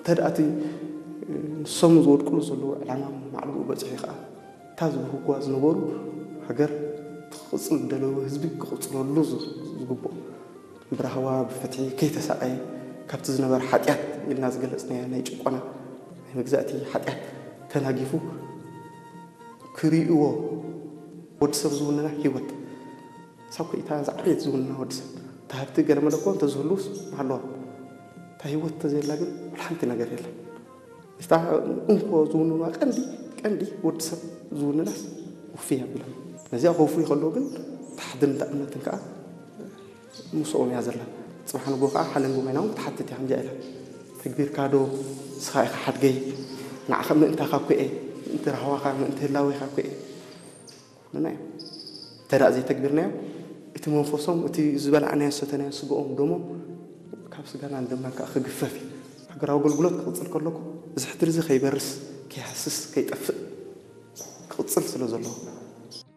እንተ ደኣ እቲ ንሶም ዝወድቅሉ ዘለዉ ዕላማ ማዕልኡ በጺሑ ከኣ እታ ዝብህጉዋ ዝነበሩ ሃገር ትቕጽል ዝደለዩ ህዝቢ ክቕጽለሉ ዝግብኦ ብራህዋ ብፍትሒ ከይተሳቐየ ካብቲ ዝነበረ ሓጢኣት ኢልና ዝገለጽናዮ ናይ ጭቆና ናይ መግዛእቲ ሓጢኣት ተናጊፉ ክርእይዎ ወዲ ሰብ ዝውንና ህይወት ሳብ ኮይታ ዝዓበየት ዝውንና ወዲ ሰብ እታ ሃብቲ ገለ መለ እኮ እንተዝህሉስ ኣለዋ እታ ህይወት እንተዘየላ ግን ወላ ሓንቲ ነገር የለን እታ እንኮ ዝውንና ቀንዲ ቀንዲ ወዲ ሰብ ዝውንናስ ውፍይ ኣቢሎም ነዚኣ ከውፍይ ከለዉ ግን ታሕድን እምነትን ከዓ ምስኦም እያ ዘላ ፅባሕ ንጎ ከዓ ሓለንጎ ኮይና እውን ክትሓትት እያ ከምዚኣ ኢላ ተግቢርካ ዶ ንስኻ ኢኻ ሓድገይ ንዓኻ ምእንታኻ እኮ እየ ምእንቲ ራህዋኻ ምእንቲ ህላዌኻ እኮ እየ ንና እዮም እንተ ደኣ ዘይተግቢርናዮ እቲ መንፈሶም እቲ ዝበላዕናዮ ዝሰተናዮ ስግኦም ደሞም ካብ ስጋና ንደምና ከዓ ክግፈፍ እዩ ሃገራዊ ኣገልግሎት ክቕፅል ከለኩ እዚ ሕድሪ እዚ ከይበርስ ከይሃስስ ከይጠፍእ ክቕፅል ስለ ዘለዎ